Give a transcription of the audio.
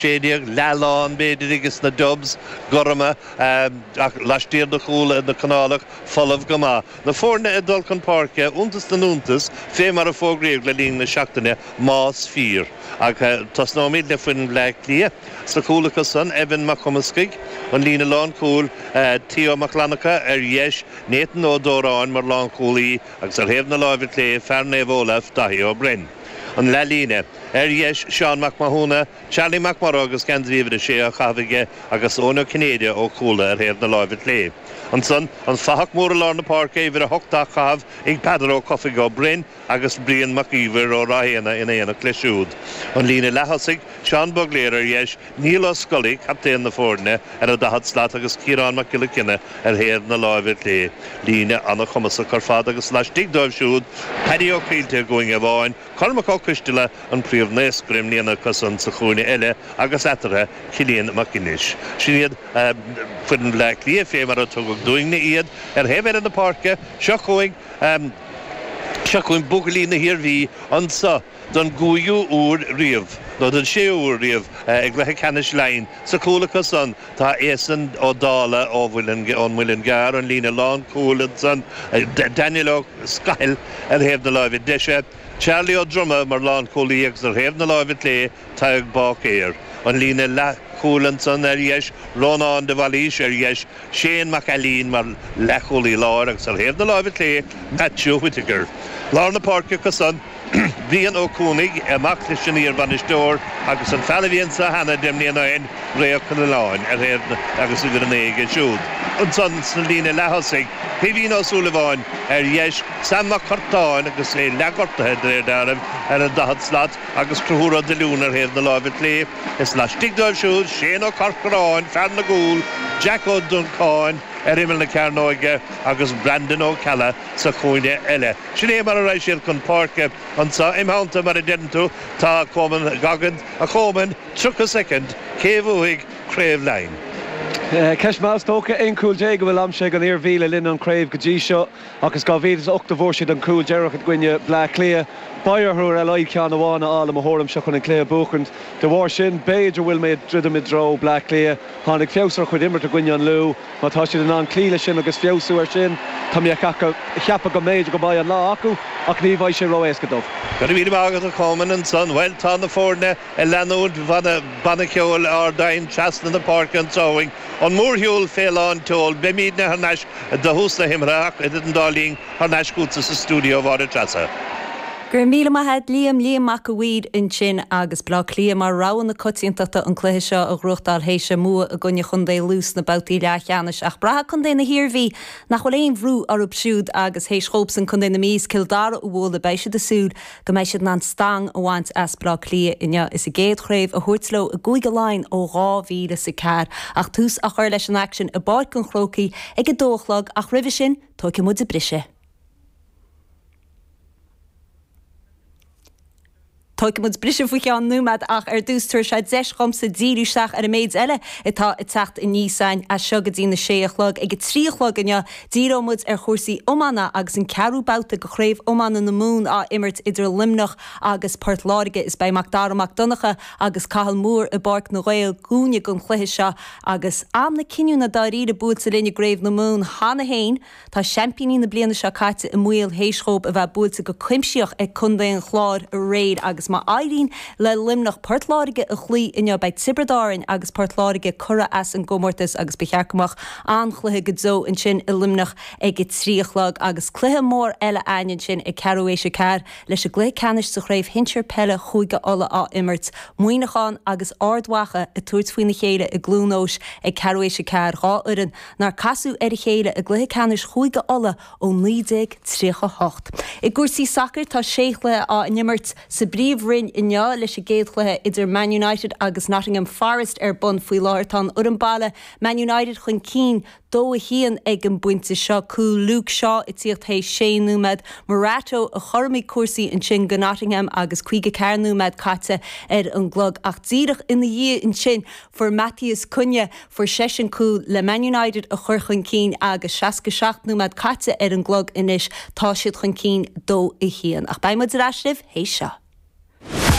16, leathlán b'fhéidir ages na Dubs, gorma, ach laistiar de chúl na Conálach, folamh go maith. Na foirne ag dul chun páirce, iontas na n-iontas, fé mar a fógraíodh le linn na seachtaine, más fíor. Ach tosnóimid le foireann Bhleá Cliath. Sa chúl acu san, Evan Mac Cumascaigh, an líne lánchúil, Theo Mac Fhlannchadha ar dheis, Nathan Ó Dóráin mar lánchúlaí agus ar thaobh na láimhe clé, fear Naomh Olaf, Daithí Ó Broin. An leathlíne. Ar dheis, Seán Mac Mathúna, Charlie Mac Murrough agus geansaí uimhir a sé á chaitheamh aige agus Eoin Ó Cinnéide ó Chuala ar thaobh na láimhe clé. Ansan, an fathach mór i lár na páirce, uimhir 8 á chaitheamh ag Peadar Ó Cofaigh ó Broin agus Brian Mac Íomhair ó Ráth Éanna in éineacht leis siúd. An líne leath-thosaigh, Seán Bugler ar dheis, Niall Ó Scolaí, captaen na foirne, ar an daichead slat agus Ciarán Mac Giolla Cionnaith ar thaobh na láimhe clé. Líne an-chumasach ar fad agus laistigh dóibh siúd, Paddy Ó Caoilte i gcúinne amháin, Cormac Ó Coisteala, an príomhnaoscaire i mbliana acusan sa chúinne eile agus eatarthu, Cillian Mac Fhínis. Sin iad foireann Bhleá Cliath fé mar a tugadh dúinne iad. Ar thaobh eile na páirce, seo chugainn seo chugainn buachaillí na hIarmhí anso don gcúigiú huair riamh, nó don séú huair riamh, i gcluiche ceannais Laighean. Sa chúl acusan tá Eason Ó Dála ó ón Muileann gCearr, an líne lánchúil ansan, Daniel Ó Scathail ar thaobh na láimhe deise, Charlie Ó Droma mar lánchúlaí agus ar thaobh na láimhe clé, Tadhg Báicéir. An líne leathchúil ansan ar dheis, Rónán de Bhailís ar dheis, Shane Mac Ailín mar leathchúlaí láir agus ar thaobh na láimhe clé, Matthew Whittaker. Lár na páirce acusan, Brian Ó Cuanaigh, mac leis an iar-bhainisteoir agus an fear a bhí anseo cheana deich mbliana ó shin, Ray Ó Coileáin, ar thaobh agus uimhir 9 aige siúd. Ansan sna líne leath-thosaigh, Caoimhín Ó Súilleabháin ar dheis, Sam Mac Curtáin agus é leathghortaithe de réir dealraimh ar an daichead slat agus Conchúr Ó Duilliún ar thaobh na láimhe clé. Is laistigh dóibh siúd, Shane Ó Corcoráin, fear na gcúl, Jack Ó Dúncáin ar imeall na cearnóige agus Brandon Ó Ceallaigh sa chúinne eile. Sin é mar a raghaidh siad chun páirce anseo. Im theannta, mar a deireann tú, tá Coman Goggins, a Chomain, 30 soicind, cé bhuafaidh Craobh Laighean? Ceist mhaith is dócha. 11 cúl a bhfuil aimsithe ag an Iarmhí le linn an chraobh go dtí seo ach is 2008 a bhfuair siad an cúl deireanach i gcoinne Bleá Cliath. Beidh orthu ar a laghad ceann amháin a fháil i mo thuairimse chun an cluiche a bhuachaint. De bharr sin, b'fhéidir bhfuil mé ag druidim i dtreo Bleá Cliath. Tháinig feabhas ar a chuid imirt i gcoinne an Lú. Má tá siad in ann cloí leis sin agus feabhsú air sin, tá mé ag ceapadh go mb'fhéidir go mbeidh an lá acu ach ní bheidh sé ró-éasca dóibh. Go raibh míle maith agat a Chomain ansan. Bhuel tá na foirne ag leanúint banna ceoil Ardoyne trasna na páirce anso uainn. An mórshiúl fé lán tseoil. Beimídne thar n-ais do thús na himeartha ach idir an dá linn thar n-ais chugatsa sa stiúideo a Mháire Treasa. Go raibh míle maith a't Liam, Liam Mac a' Mhaoir ansin agus Bleá Cliath mar rogha na coitiantachta an cluiche seo a ghnóthachtáil théis a mbua i gcoinne Chontae Lú sna babhtaí leathcheannais ach braithfidh Contae na hIarmhí nach bhfuil aon bhrú orthu siúd agus théis dhóibhsan Contae na Mí is Cill Dara a bhualadh beidh siad ag súil go mbeidh siad in ann stangadh a bhaint as Bleá Cliath inniu is a gcéad chraobh a thabhairt leo i gCúige Laighean ó 2004. Ach tús á chur leis an aicsean i bPáirc an Chrócaigh ag a dó a chlog ach roimhe sin tógfaidh muid briseadh. Tógfaidh muid briseadh faoi cheann nóiméad ach ar dtús tabharfaidh sé deis dhomsa díriú isteach ar an méid eile atá ag teacht aníos againn as seo go dtí na sé a chlog. Ag a trí a chlog inniu díreoidh muid ar chúrsaí iomána agus an ceathrú babhta de Chraobh Iomána na Mumhan á imirt idir Luimneach agus Port Láirge. Is beidh Mac Dara Mac Donncha agus Cathal Moore i bPáirc na nGael dúinne don chluiche seo agus am na cinniúna dáiríre buailte linn i gCraobh na Mumhan cheana féin. Tá seaimpíní na bliana seo caite i mbaol théis dhóibh a bheith buailte go cuimsitheach ag Contae an Chláir aréir agus má éiríonn le Luimneach Port Láirge a chloí inniu beidh Tiobraid Árainn agus Port Láirge curtha as an gcomórtas agus ba cheart go mbeadh an-chluiche go deo ansin i Luimneach ag a 3 a chlog agus cluiche mór eile againn ansin ag ceathrú théis a 4 leis an gcluiche ceannais sa chraobh shinsir peile Chúige Uladh á imirt, Muineachán agus Ard Mhacha ag tabhairt faoina chéile i gCluain Eois ag ceathrú théis a 4, 2 fhoireann nár casadh ar a chéile i gcluiche ceannais Chúige Uladh ó 1938. I gcúrsaí sacair, tá sé chluiche á n-imirt sa bPríomh-Roinn inniu, leis an gcéad chluiche idir Man United agus Nottingham Forest ar bun faoi láthair. Tá an fhoireann baile, Man United, chun cinn 2, 1 ag an bpointe seo. Cúl Luke Shaw ag tíocht théis sé nóiméad. Morato a chothromaigh cúrsaí ansin go Nottingham agus 54 nóiméad caite ar an gclog ach díreach ina dhiaidh ansin Fuair Matheus Cunha, fuair seisean cúl le Man United a chur chun cinn agus 67 nóiméad caite ar an gclog anois, tá siad chun cinn 2, 1. Ach beidh muid ar ais libh théis seo.